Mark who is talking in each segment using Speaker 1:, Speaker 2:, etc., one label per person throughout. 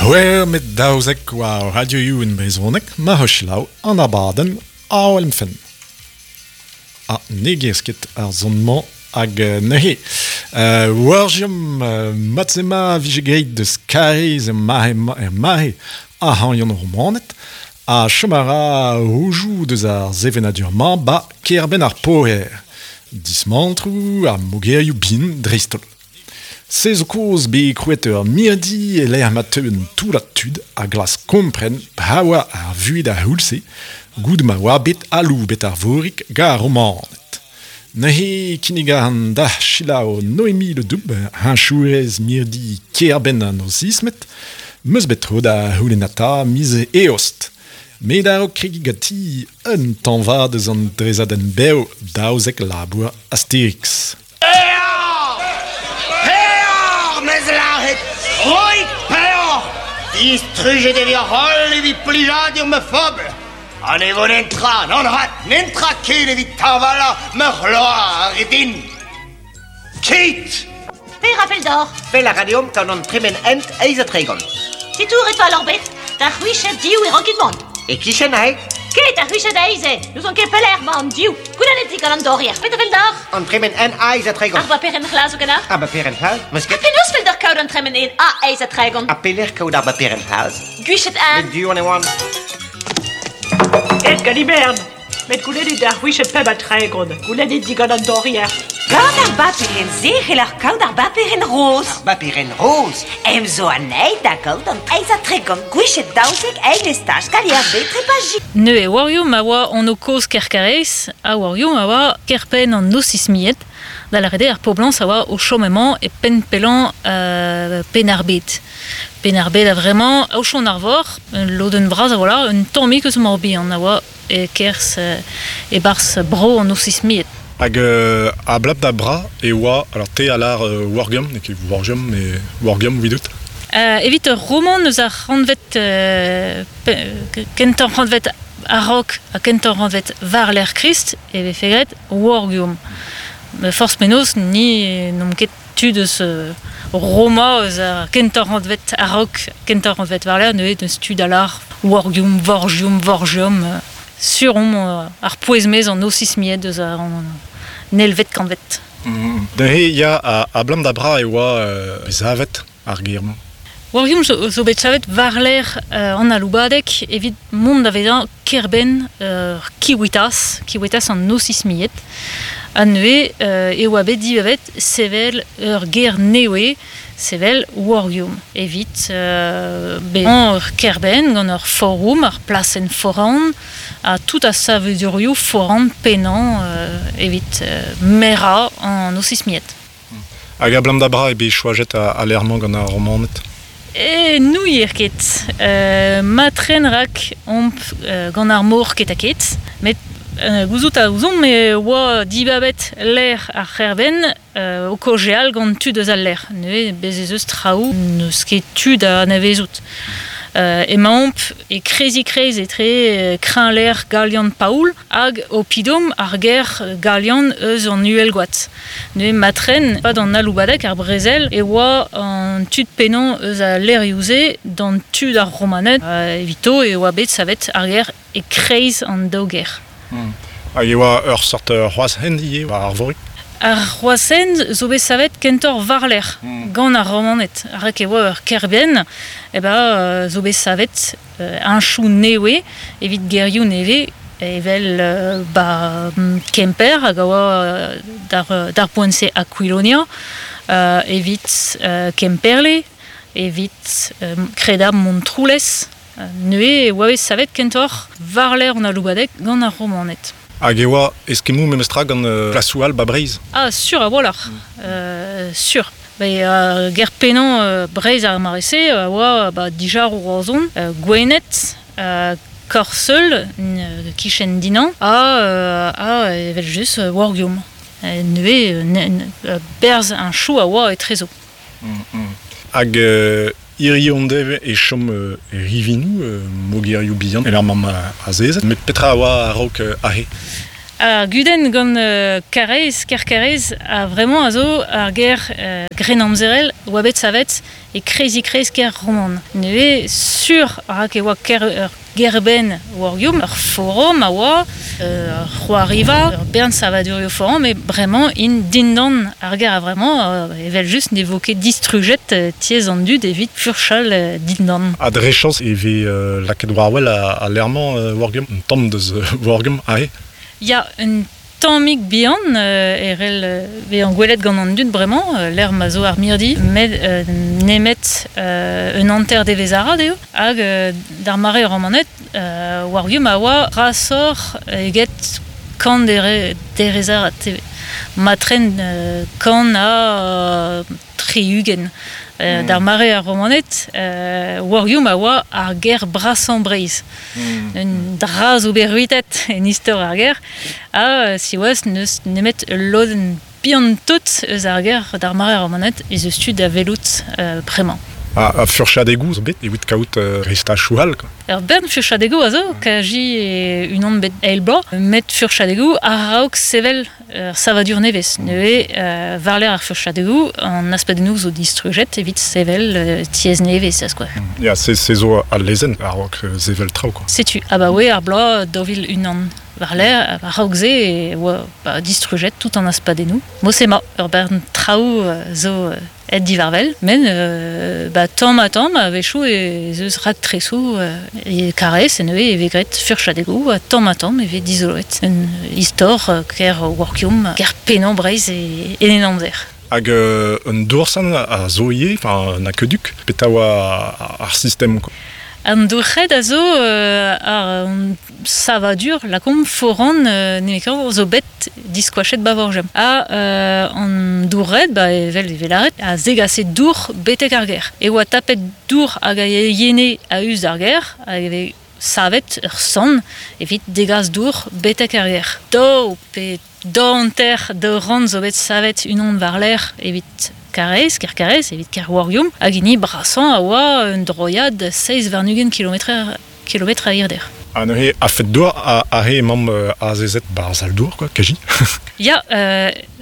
Speaker 1: C'hwec'h met 12 war Radio Youenn Brezhoneg ma ho selaou an abadenn Awel em fenn. Ha ne gerzh ket ar son-mañ hag neuze warziomp mat-se-ma vije graet deus Kariz er mare ar c'hañion romaned ha chom a ra roudoù deus ar sevenadur-mañ 'ba kêr-benn ar Poher. Dismantroù ha mogerioù bihan dreist-holl. Se zo kaoz bet krouet ur mirdi e-lec'h ma teu un toullad tud a glask kompren petra oa ar vuhez d'ar c'houlz-se goude ma oa bet aloubet Arvorig gant ar Romaned. Neuze kinnig a ran deoc'h selaou Noémie Le Dub, heñchourez mirdi kêr-benn an Osismed. 'Meus bet tro da c'houlennata miz Eost. Met a-raok kregiñ ganti un tañva deus an dresadenn bev 12 labour Asterix.
Speaker 2: Peoc'h! Peoc'h, 'meus lâret! Roit peoc'h! Distrujet e vioc'h holl evit plijadur ma fobl! Ha ne vo netra, nann rat, netra ken evit tañvalañ ma c'hloar din! Ket!
Speaker 3: Per a fell deoc'h?
Speaker 4: Fell a ra deomp gant an tremen hent eizh ha 30.
Speaker 3: Titouret fall oc'h bet. Da c'hwiched div e rankit mont.
Speaker 4: E-kichen aze?
Speaker 3: Ket da c'hwiched eizh eo. N'ouzon ket pelec'h 'mañ an div. Goulennet digant an dorier. Petra fell deoc'h?
Speaker 4: An tremen en eizh ha 30.
Speaker 3: Ar baperenn c'hlas zo ganeoc'h?
Speaker 4: Ar baperenn c'hlas? Meus ket.
Speaker 3: Ha penaos fell deoc'h kaout an tremen en A eizh ha 30?
Speaker 4: Ha pelec'h kaout ar baperenn c'hlas?
Speaker 3: Gwiched en.
Speaker 4: Met du on e oan.
Speaker 5: Ket Galibern. Met goulennit ar c'hwiched pemp ha 30. Goulennit digant an dorier.
Speaker 6: Gant ar baperenn-se e c'heller kaout ar baperenn roz.
Speaker 4: Ar baperenn roz?
Speaker 6: Em zo anezhi da gaout an eizh ha 30 gwiched 12 eil estaj kalier B trepaji.
Speaker 7: Neuze warioù ma oa anv kozh Kerkarez ha warioù ma oa kêr-penn an Osismied, da lâret eo ar poblañs a oa o chom emañ e penn pellañ Penn-ar-Bed. Penn-ar-Bed a-vremañ, Aochon-ar-Vor, ul lodenn vras a-walc'h, un tammig eus Mor-Bihan a oa e-kerzh e-barzh bro an Osismied.
Speaker 1: Hag a-blap da bra e oa, alors te a lâr Wargum, n'eo ket Wargum, mais Wargum evidout.
Speaker 7: Evit ur romant eus ar c'hantved kentañ c'hantved a-raok ha kentañ c'hantved war-lerc'h Krist e vefe graet Wargum. Forzh penaos, ni n'omp ket tud eus Roma eus ar kentañ c'hantved a-raok kentañ c'hantved war-lerc'h neuze n'eus tud a lâr Wargium, Vorgium, Vorgium. Sur omp ar pouez-maez an Osismied eus an elvet kantved.
Speaker 1: Neuze ya, abalamour da bra e oa savet ar gêr-mañ.
Speaker 7: Wargium zo bet savet war-lerc'h an aloubadeg evit mont da vezañ kêr-benn Kiwitas, Kiwitas an Osismied. Ha neuze e oa bet dibabet sevel ur gêr nevez, sevel Wargium, evit bezañ ur kêr-benn gant ur forum, ur plasenn foran, ha tout ar savadurioù foran pennañ evit merañ an Osismied.
Speaker 1: Hag abalamour da bra eo bet choajet al lec'h-mañ gant ar Romaned?
Speaker 7: E n'ouier ket. Matren rak omp gant ar mor ket-ha-ket. Met gouzout a ouzomp e oa dibabet lec'h ar c'hêr-benn o kaozeal gant tud eus al lec'h. Neuze bez' ez eus traoù n'eus ket tu da anavezout. Emaomp e kreizik-kreiz etre kreñvlec'h galian Paoul hag oppidum ar gêr galian eus an Uhelgoad. Neuze matren, 'pad an aloubadeg ar brezel e oa an tud pennañ eus al lec'hioù-se d'an tu d'ar Romaned. Evito e oa bet savet ar gêr e-kreiz an daou gêr.
Speaker 1: Hag e oa ur seurt c'hroaz-hent ivez war Arvorig?
Speaker 7: Ar c'hroaz-hent zo bet savet kentoc'h war-lerc'h gant ar Romaned. Rak e oa ur kêr-benn eh ben, zo bet savet heñchoù nevez evit gerioù nevez evel ba Kemper hag a oa d'ar poent-se Aquilonia, evit Kemperle, evit kredabl Montroulez. Neuze e oa bet savet kentoc'h war-lerc'h an aloubadeg gant ar Romaned.
Speaker 1: Hag e oa eskemmoù memestra gant plasoù all 'ba Breizh?
Speaker 7: Ah, sur a-walc'h, sur. Bet ar ger pennañ Breizh ar mare-se a oa ba dija Roazhon, Gwened, Korseul, kichen Dinan, ha evel-just Wargium. Neuze berzh un chou a oa etrezo.
Speaker 1: Hag hiziv an deiz e chom rivinoù, mogerioù bihan, evel mamm azezet. Met petra a oa a-raok aze?
Speaker 7: Ar gudenn gant Karaez, kêr Karaez, a vremañ a zo ar gêr grennamzerel oa bet savet e kreizik-kreiz kêr roman. Neuze sur rak e oa kêr ur gêr-benn Wargium, ur forum a oa, ur c'hoariva, ur bern savadurioù foran, met bremañ int dindan ar gêr a-vremañ, evel-just ne vo ket distrujet tiez an dud evit furchal dindan.
Speaker 1: Ha dre chañs e vez lakaet war-wel al lec'h-mañ Wargium, un tamm deus Wargium aze.
Speaker 7: Ya, un tammig bihan e c'hell bezañ gwelet gant an dud bremañ, lec'h ma zo ar mirdi, met nemet un hanter devezh arat eo. Hag d'ar mare romanet, war-du ma oa brasoc'h eget kant derez arat. Matren kant ha 60. D'ar mare ar Romaned, Wargium a oa ar gêr brasañ Breizh. Un dra zo bet ruitet en istor ar gêr, ha siwazh n'eus nemet ul lodenn bihan-tout eus ar gêr d'ar mare ar Romaned ez eus tu da welout bremañ.
Speaker 1: Ha furchadegoù zo bet evit kaout restachoù all quoi.
Speaker 7: Ur bern furchadegoù a zo, kazi unan bet eil bloaz, met furchadegoù a-raok sevel ur savadur nevez. Neuze, war-lerc'h ar furchadegoù, an aspadennoù zo distrujet evit sevel tiez nevez, da skouer.
Speaker 1: Ya, se zo al lezenn a-raok sevel traoù quoi.
Speaker 7: Setu, abaoe ar bloaz 2001. War-lerc'h, a-raok se e oa distrujet tout an aspadennoù. Mod-se emañ, ur bern traoù zo aet diwar-wel, met ba tamm-ha-tamm a-wechoù ez eus raktresoù e Karaez neuze e vez graet furchadegoù ha tamm-ha-tamm e vez dizoloet un istor kêr Workium, kêr pennañ Breizh en en amzer.
Speaker 1: Hag un doursan a zo ivez, enfin un aqueduc, petra oa ar sistem quoi.
Speaker 7: An dourc'hed a zo ar savadur lakaomp foran nemetañ zo bet diskoachet 'ba Vorgem. Ha an dour-red, ba evel e vez lâret, a zegase dour betek ar gêr. E oa tapet dour hag a yene a-us d'ar gêr hag e vez savet ur san evit degas dour betek ar gêr. Daou pe daou hanter daou rann zo bet savet unan war-lerc'h evit Karaez, kêr Karaez, evit kêr Wargium, hag hini brasañ a oa un droiad 27 kilometr kilometr a hirder.
Speaker 1: Ha neuze, a-fet dour, aze emaomp azezet 'ba ar sal-dour, quoi, kazi.
Speaker 7: Ya,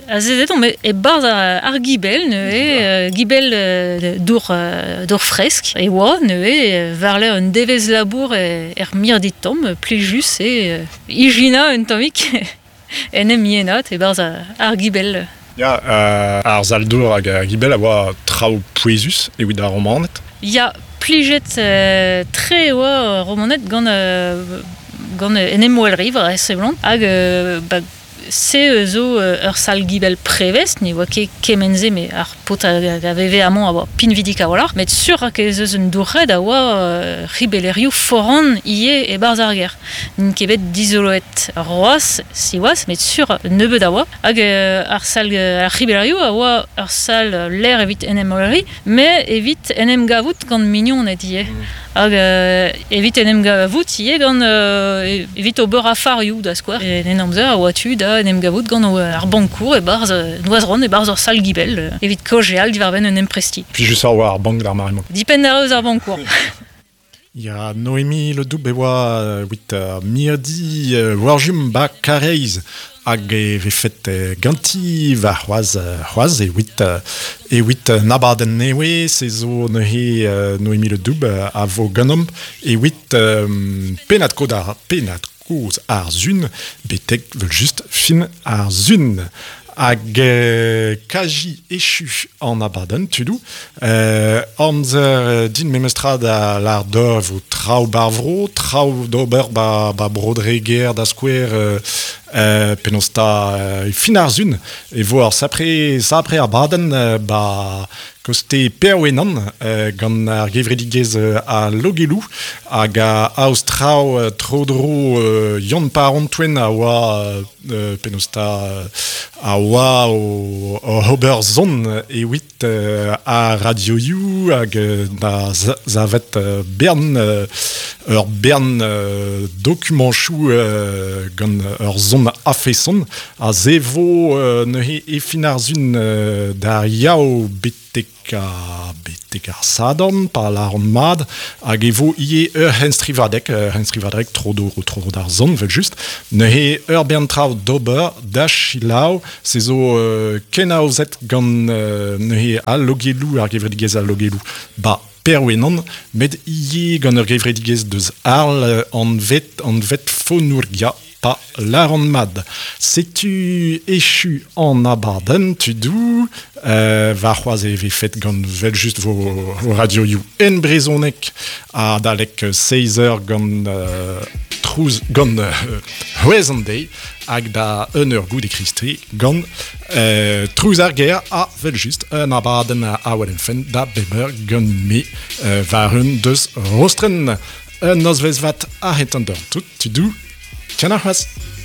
Speaker 7: azezet omp e-barzh ar gibell neuze, gibell dour, dour fresk e oa neuze, war-lerc'h un devezh labour er mirdi tomm, plijus eo ijinañ un tammig en em yenat e-barzh ar gibell.
Speaker 1: Ya, ar sal-dour hag ar gibell a oa traoù pouezus evit ar Romaned.
Speaker 7: Ya, plijet tre e oa Romaned gant gant en em welriv a seblant hag ba se zo ur sal-gibell prevez, ne oa ket kement-se met ar paotr a veve amañ a oa pinvidik a-walc'h, met sur ez eus un dour-red a oa ribellerioù foran ivez e-barzh ar gêr. N'int ket bet dizoloet c'hoazh, siwazh, met sur nebeut a oa. Hag ar sal ar ribellerioù a oa ur sal lec'h evit en em welriñ, met evit en em gavout gant mignoned ivez. Hag evit en em gavout ivez gant evit ober afarioù da skouer. En amzer a oa tu da en em gavout gant ar bankour e-barzh Noazron e-barzh ur sal-gibell evit kaozeal diwar-benn un empresti.
Speaker 1: Plijus a oa ar bank d'ar mare-mañ.
Speaker 7: Dipenn a ra eus ar bankour.
Speaker 1: Ya, Noémie Le Doub e oa evit mirdi Warjum ba Karaez hag e vefet ganti warc'hoazh c'hoazh evit evit un abadenn nevez se zo neuze Noémie Le Doub a vo ganeomp evit pennad-kaoz ar pennad-kozh ar sun betek vel-just fin ar sun. Hag kazi echu an abadenn, tudoù. Amzer din memestra da lâr deoc'h e vo traoù ba'r vro, traoù d'ober ba, ba Bro-Dreger da skouer, penaos 'ta e fin ar sun e vo ar sapre, sapre abadenn ba koste Perwenan gant ar gevredigezh a Logelou hag a aoz traoù tro-dro Yann Parantouen a oa penaos 'ta a oa oc'h ober son evit ar radioioù hag da savet bern ur bern dokumantoù gant ur son a-feson a zevo neuze e fin ar sun d'ar Yaou bet betek a, betek ar sadorn, pa lâran mat, hag e vo ivez ur c'henstrivadeg, ur c'henstrivadeg tro-dro tro d'ar son, vel just. Neuze ur bern traoù d'ober da selaou, se zo kenaozet gant neuze al Logelou, ar gevredigezh al Logelou, ba Perwenan, met ivez gant ur gevredigezh deus Arles anvet, anvet Fonourgia pa lâran mat. Setu echu an abadenn, tudoù, warc'hoazh e vefet gant vel just vo radioioù en brezhoneg adalek 6 eur gant trouz gant c'hwezh an deiz hag da un eur goude Kristri gant trouz ar gêr ha vel just un abadenn a wel fenn da bep eur gant me war un deus Rostren. Un nozvezh vat a-hed an dorn tout, tudoù, ken ar c'hoazh.